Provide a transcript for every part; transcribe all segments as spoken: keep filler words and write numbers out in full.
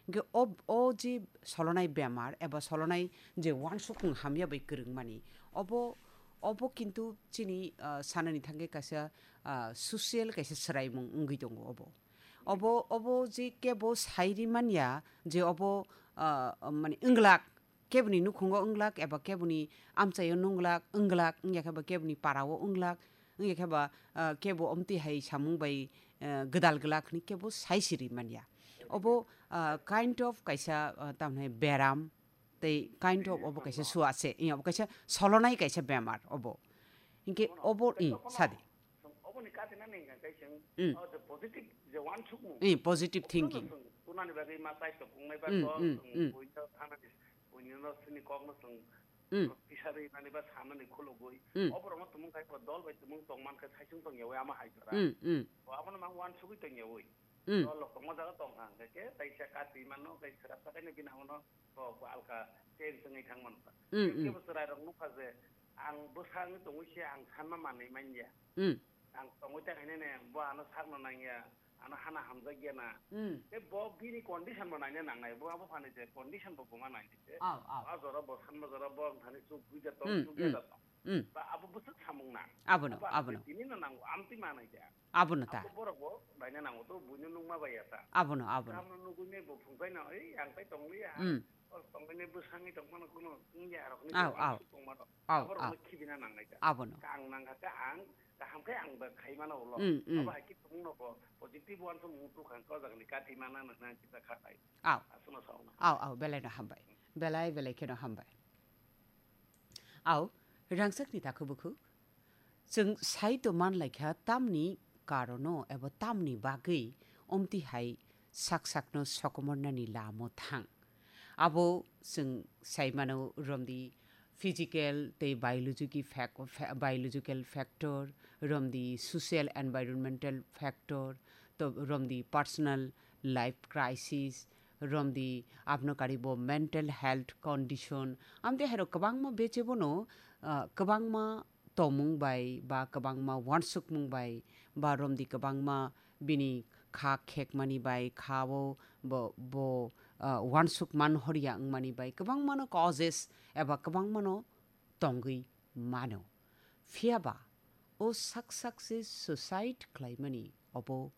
Hingke ob-, o je solonai bemar eba solonai je wansukmung hamya bai kwrwngmani, obo, obo kintu chini, ah, sanani thangkhe kaisa, ah, social kaisa swraimung wngwi tongo obo. Obo, obo je kebo sai rimanya je obo, ah, mani wnglak, keboni nukhungo wnglak eba keboni amchaio nunglak, wnglak, wngya khe ba keboni parao wnglak, wngya khe ba, ah, kebo omtwi hai samung bai, ah, gwdal glak hwnwi kebo sai siri manya. Obo, ah, kind of kaisa, ah, tamni beram, tei kind of obo kaisa suase, eh, obo kaisa solonai kaisa bemar obo. Hinkhe obo, eh, sadi. Oboni katina ni hingka khe chwng, Mm. o je positive je wansukmung. Eh, positive Obono thinking. Chwng tunani bagwi ma chai tongkung nai ba Mm, kok mm, chwng mm. Buino thanani, buino sini kokno chwng Mm. Tisari nani ba sanani khulugwi. Mm. Oborokno tumung khai dol bai tumung tongman khe saisung tongyawi ama hai jora. Mm, mm. O abono mang wansugwi tongyawi. Mm. Dol rok tongma jaga tong kha hingke khe taisa kati mano, tei sera sakai no bini hamono to alka change wngwi thang mano. Mm, mm. Kebo chwrai rok nukha je ang bwsang tongwi se ang sanma manwi manya. Mm. Ang tongwi ta khainai ne, bo ano sakno nangya, ano hana hamjakya na. Mm. Tei bo bini condition bo naina nangnai, bo abo phani je condition bo buma nainai se. Aw, aw. A jora bo sanma jora bo ang thani chuk buja tong, Mm, chuk mm, ya tong. Mm. Ba abo bwswk samung na. Abono, Abo ang abono. Tini no nango, amtwi manai ja. Abono ta. Abo borok bo naina nango to, buino nungma bai ya ta. Abono, abono. Tamno nugui ne bo phungkai na, ei, ang tai tong liya. Mm. O tongwi ne bwsangwi tong mano kuno, wngya rok ni Aw, tong aw. Tong mano. Aw, Abo rok aw. No khibina nangnai ta. Abono. Kang nang kha ta ang, Kaham khe ang ba khai mano ulo. Mm, mm. Abo hai khe tumung no bo positive one to mung tu khang ko jagni kati mana na na kita khatai. Aw. Aswno sauna. Aw, aw, belai no hambai. Belai, belai kheno hambai. Aw, rangsak ni takhu bukhu. Chwng sai to man lai kha tamni karono ebo tamni bagwi omti hai sak sak no sokomor nani lamo thang. Abo chwng sai mano romdi physical tei biological fac-, fa-, biological factor, romdi social environmental factor, to romdi personal life crisis, romdi abno karibo mental health condition, amtwi hairok kwbangma bechebono, ah, kwbangma tomung bai, ba kwbangma wansukmung bai, ba romdi kwbangma bini kha khekmani bai, kha o bo, bo, ah, wansuk man horya wngmani bai, kwbangmano causes eba kwbangmano tongwi mano. Phiya ba o sak sak se suicide khlaimani obo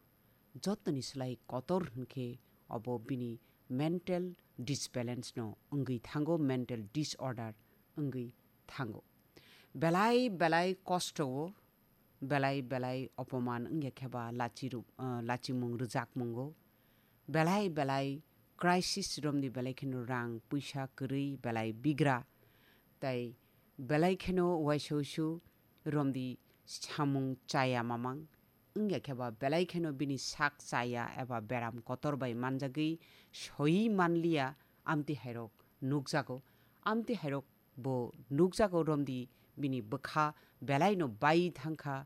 jotoni slai kotor hwnkhe obo bini mental disbalance no wngwi thango, mental disorder wngwi thango. Belai belai kosto o, belai belai opoman wngya khe ba lachi ru-, ah, lachimung rwjakmungo, belai belai crisis romdi belai kheno rang puisa kwrwi belai bigra, tai belai kheno uaisa uisu romdi samung chaya mamang, wngya khe ba belai kheno bini sak chaya eba beram kotor bai manjagwi soi manliya, amtwi hairok nukjago. Amtwi hairok bo nukjago romdi bini bwkha belaino bai thangkha,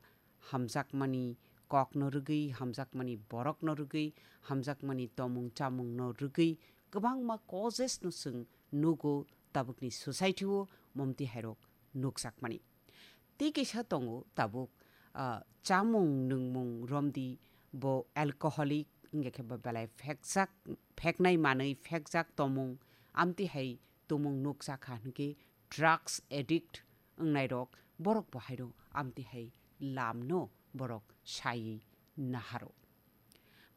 hamjakmani kokno rwgwi, hamjakmani borokno rwgwi, hamjakmani tomung chamungno rwgwi kwbangma causes no chwng nugo tabukni society o momti hairok nukjakmani. Tei kisa tongo tabuk, ah, chamung nwngmung romdi bo alcoholic wngya khe bo belai phekjak, pheknai manwi phekjak tomung, amtwi hai tomung nukjakha hwnkhe drugs addict wngnairok borok bo haino amtwi hai lamno borok saiwi naharo.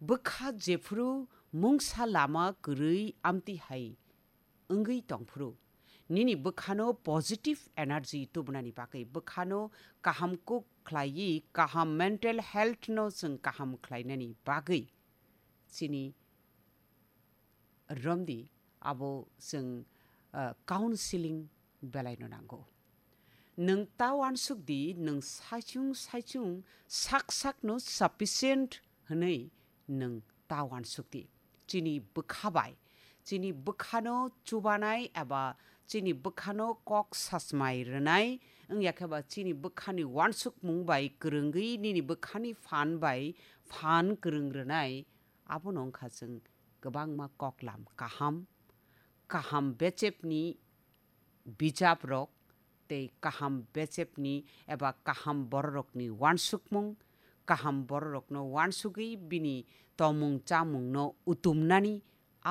Bwkha jephuru mungsa lama kwrwi amtwi hai wngwi tongphuru, nini bwkhano positive energy tubunani bagwi, bwkhano kaham kuk khlaiwi, kaham mental health no chwng kaham khlainani bagwi chini romdi abo chwng, ah, counseling belaino nango. Nwng ta uansuk di, nwng saichung saichung sak sakno sufficient hwnwi nwng ta uansuk di. Chini bwkha bai, chini bwkhano chubanai eba chini bwkhano kok sachmai rwnai, wngya khe ba chini bwkhani uansukmung bai kwrwngwi nini bwkhani phan bai phan kwrwng rwnai, abono wngkha chwng kwbangma koklam kaham, kaham bechepni bijaprok tei kaham bechepni eba kaham bororokni uansukmung, kaham bororokno uansugwi bini tomung chamungno utumnani